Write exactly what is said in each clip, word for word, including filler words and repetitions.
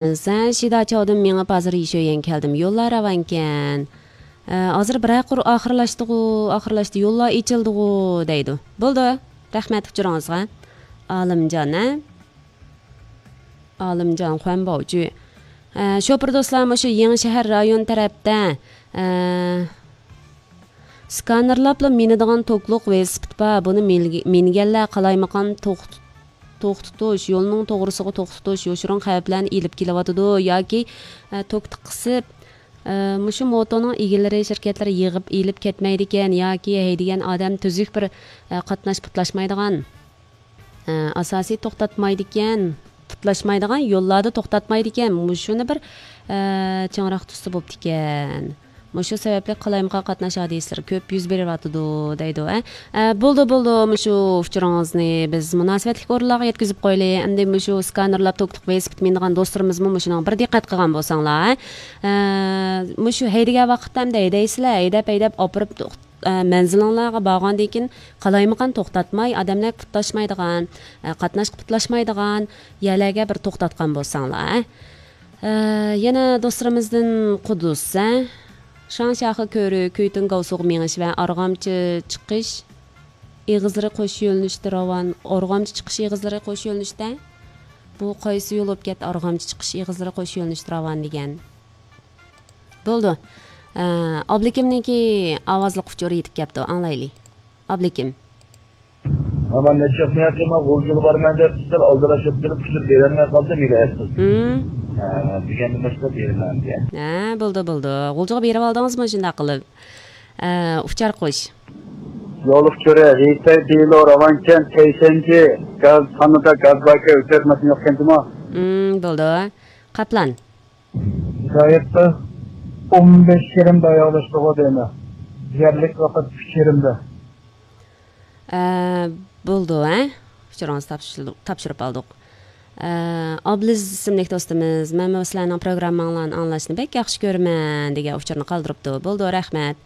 سەن شىدا چاۋدىن مېڭىپ ھازىر يىشۆيەن كەلدىم. يوللار راۋانكەن. ئە، ھازىر بىرەر قۇر ئاخىرلاشتىغۇ، ئاخىرلاشتى، يوللار ئېچىلدىغۇ دەيدۇ. بولدى. رەھمەت ئۇچۇرىڭىزغا. ئالىمجان، ھە؟ ئالىمجان خۇەنباۋجۈ. ئە، شوپۇر دوستلار، مۇشۇ يېڭى شەھەر رايون تەرەپتە، ئە، سكانېرلاپلا مىنىدىغان توكلۇق ۋېلىسىپىت بار. بۇنى مىنگە-، مىنگەنلەر قالايمىقان توخت-، توختىتىش، يولنىڭ توغرىسىغا توختىتىش، يوشۇرۇن خەۋپلەرنى ئېلىپ كېلىۋاتىدۇ ياكى، ئە، توك قىسىپ، ئە، مۇشۇ موتونىڭ ئىگىلىرى، شىركەتلىرى يىغىپ ئېلىپ كەتمەيدىكەن ياكى ھەيدىگەن ئادەم تۈزۈك بىر، ئە، قاتناش پۇتلاشمايدىغان، ئە، ئاساسىي توختاتمايدىكەن، پۇتلاشمايدىغان يوللاردا توختاتمايدىكەن. مۇشۇنى بىر، ئە، چىڭراق تۇتسا بوپتىكەن. مۇشۇ سەۋەبلىك قالايمىقان قاتناش ھادىسىلىرى كۆپ يۈز بېرىۋاتىدۇ، دەيدۇ، ھە. ئە، بولدى، بولدى، مۇشۇ ئۇچۇرىڭىزنى بىز مۇناسىۋەتلىك ئورۇنلارغا يەتكۈزۈپ قويىلى. ئەمدى مۇشۇ سكانېرلاپ توكلۇق ۋېلىسىپىت مىنىدىغان دوستلىرىمىزمۇ مۇشۇنىڭغا بىر دىققەت قىلغان بولساڭلار، ھە. ئە، مۇشۇ ھەيدىگەن ۋاقىتتا ئەمدى ھەيدەيسىلەر، ھەيدەپ، ھەيدەپ ئاپىرىپ، ئە، مەنزىلىڭلارغا بارغاندىن كېيىن قالايمىقان توختاتماي، ئادەملەرگە پۇتلاشمايدىغان، ئە، قاتناشقا پۇتلاشمايدىغان يەرلەرگە بىر توختاتقان بولساڭلار، ھە. ئە، يەنە دوستلىرىمىزدىن قۇددۇس، ھە؟ شاڭشياخې كۆرۈ، كۈيتۈن گاۋسۇغا مېڭىش ۋە ئارغامچا چىقىش ئېغىزلىرى قوش يۆنىلىشتە راۋان. ئارغامچا چىقىش ئېغىزلىرى قوش يۆنىلىشتە؟ بۇ قايسى يول بولۇپ كەتتى؟ ئارغامچا چىقىش ئېغىزلىرى قوش يۆنىلىشتە راۋان دېگەن. بولدى. ئە، ئابلىكىمنىڭكى ئاۋازلىق ئۇچۇرى يېتىپ كەپتۇ، ئاڭلايلى. ئابلىكىم. ئامان نەچچە قېتىم غۇلجىغا بارىمەن دەپ، سىلەر ئالدىراش بولۇپ تۇرۇپ، ئۇچۇر بېرەلمەي قالدىم، مېنى ئەپسۇس. ھىم. ھە، دېگەندىن باشقا بېرىمەن دېگەن. ھە، بولدى، بولدى. غۇلجىغا بېرىۋالدىڭىزمۇ شۇنداق قىلىپ؟ ئە، ئۇچار قوش. يول ئۇچۇرى، رېيسەي دېلو، راۋانكەنت، تەيشەنجى، گاز، خانىدا گاز باركەن، ئۆتۈرەتمەسمۇ يوقكەن جۇمۇ. ھىم، بولدى. قاپلان. ھىدايەتتە ئون بەش يېرىمدە ئاياغلاشتىغۇ دەيمەن. يەرلىك ۋاقىت ئۈچ يېرىمدە. ئە، بولدى، ھە؟ ئۇچۇرىڭىزنى تاپشۇرۇپ، تاپشۇرۇپ ئالدۇق. ئە، ئابلىز ئىسىملىك دوستىمىز، مەن سىلەرنىڭ پروگرامماڭلارنى ئاڭلاشنى بەك ياخشى كۆرىمەن دېگەن ئۇچۇرنى قالدۇرۇپتۇ. بولدى، رەھمەت.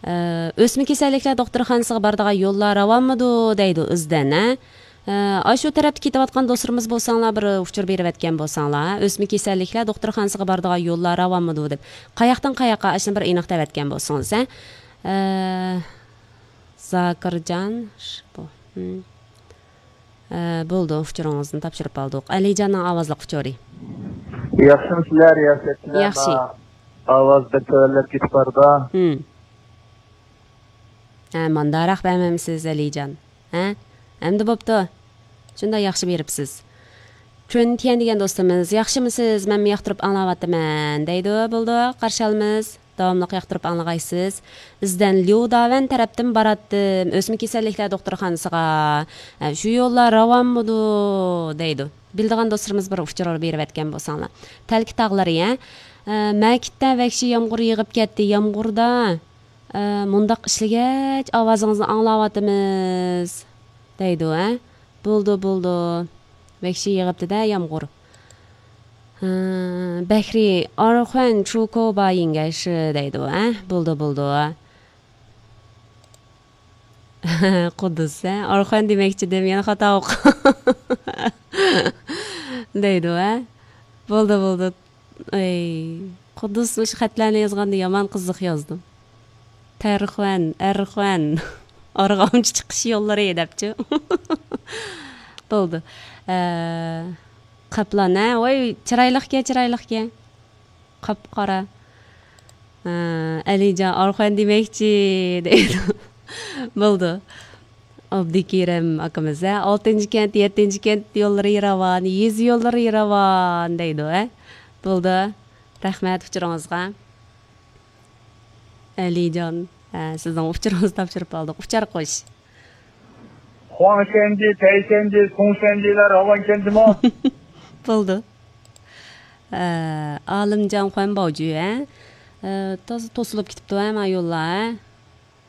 ئە، ئۆسمە كېسەللىكلەر دوختۇرخانىسىغا بارىدىغان يوللار راۋانمىدۇ دەيدۇ ئىزدەن، ھە؟ ئە، ئاشۇ تەرەپتە كېتىۋاتقان دوستلىرىمىز بولساڭلار، بىر ئۇچۇر بېرىۋەتكەن بولساڭلار، ھە؟ ئۆسمە كېسەللىكلەر دوختۇرخانىسىغا بارىدىغان يوللار راۋانمىدۇ دەپ. قاياقتىن قاياققا، ئاشۇنى بىر ئېنىق دەۋەتكەن بولسىڭىز، ھە؟ ئە، زاكىرجان، ش-، بۇ، ھىم. ئە، بولدى، ئۇچۇرىڭىزنى تاپشۇرۇپ ئالدۇق. ئەلىجاننىڭ ئاۋازلىق ئۇچۇرى. ياخشىمۇ سىلەر، رىياسەتچىلەر؟ ياخشى. ئاۋاز بەك تۆۋەنلەپ كېتىپ بارىدۇ. ھىم. ھە، مانداراق بەرمەمسىز، ئەلىجان؟ ھە؟ ئەمدى بوپتۇ. شۇنداق ياخشى بېرىپسىز. چۈن تيەن دېگەن دوستىمىز، ياخشىمۇسىز؟ مەنمۇ ياقتۇرۇپ ئاڭلاۋاتىمەن، دەيدۇ. بولدى، قارشى ئالىمىز. داۋاملىق ياقتۇرۇپ ئاڭلىغايسىز. ئىزدەن ليۇ داۋەن تەرەپتىن باراتتىم، ئۆسمە كېسەللىكلەر دوختۇرخانىسىغا. ئە، شۇ يوللار راۋانمىدۇ؟ دەيدۇ. بىلىدىغان دوستلىرىمىز بىر ئۇچۇر بېرىۋەتكەن بولساڭلار. تەلكە تاغلىرى، ھە؟ ئە، مەكىتتە ۋەھشىي يامغۇر يېغىپ كەتتى، يامغۇردا. ئە، مۇنداق ئىشلىگەچ ئاۋازىڭىزنى ئاڭلاۋاتىمىز، دەيدۇ، ھە؟ بولدى، بولدى. ۋەھشىي يېغىپتۇ-دە يامغۇر. ھە، بەھرى، ئارخۇەن چۇكو بايىڭگەشى دەيدۇ، ھە؟ بولدى، بولدى. قۇددۇس، ھە؟ ئارخۇەن دېمەكچىدىم، يەنە خاتا ئوقۇ. دەيدۇ، ھە؟ بولدى، بولدى. ئەي، قۇددۇس مۇشۇ خەتلەرنى يازغاندا يامان قىزىق يازدىم. تەرخۇەن، ئەرخۇەن، ئارغامچا چىقىش يوللىرى دەپچۇ. بولدى. ئە، قاپلان، ھە؟ ۋاي، چىرايلىقكەن، چىرايلىقكەن. قاپقارا. ئە، ئەلىجان، ئارخۇەن دېمەكچى دەيدۇ. بولدى. ئابدۇكېرىم ئاكىمىز، ھە، ئالتىنچى كەنت، يەتتىنچى كەنت يوللىرى راۋان، يېزا يوللىرى راۋان دەيدۇ، ھە. بولدى. رەھمەت ئۇچۇرىڭىزغا. ئەلىجان، ھە، سىزنىڭ ئۇچۇرىڭىزنى تاپشۇرۇپ ئالدۇق. ئۇچار قوش. خۇاڭشەنجى، تەيشەنجى، سۇڭشەنجىلەر راۋانكەنجىمۇ؟ بولدى. ئە، ئالىمجان خۇەنباۋجۈ، ھە؟ ئە، تازا توسۇلۇپ كېتىپتۇ، ھە، ما يوللار، ھە؟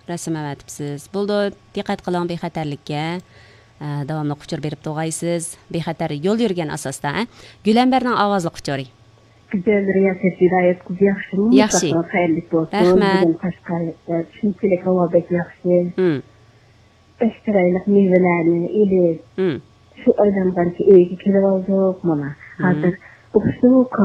رەسىم ئەۋەتىپسىز. بولدى، دىققەت قىلىڭ بىخەتەرلىككە. ئە، داۋاملىق ئۇچۇر بېرىپ تۇرغايسىز. بىخەتەر يول يۈرگەن ئاساستا، ھە؟ گۈلەمبەرنىڭ ئاۋازلىق ئۇچۇرى. گۈزەل رىياسەت ھىدايەت قىزى، ياخشىمۇ؟ ياخشى. مۇشۇ خەيرلىك بولسۇن. رەھمەت. بۈگۈن قەشقەر، ئە، شۇنچىلىك ھاۋا بەك ياخشى. ھىم. بەك چىرايلىق مېۋىلەرنى ئېلىپ، ھىم. شۇ ئايلانغانچە ئۆيگە كېلىۋالدۇق مانا. ھىم. ھازىر Успокойся.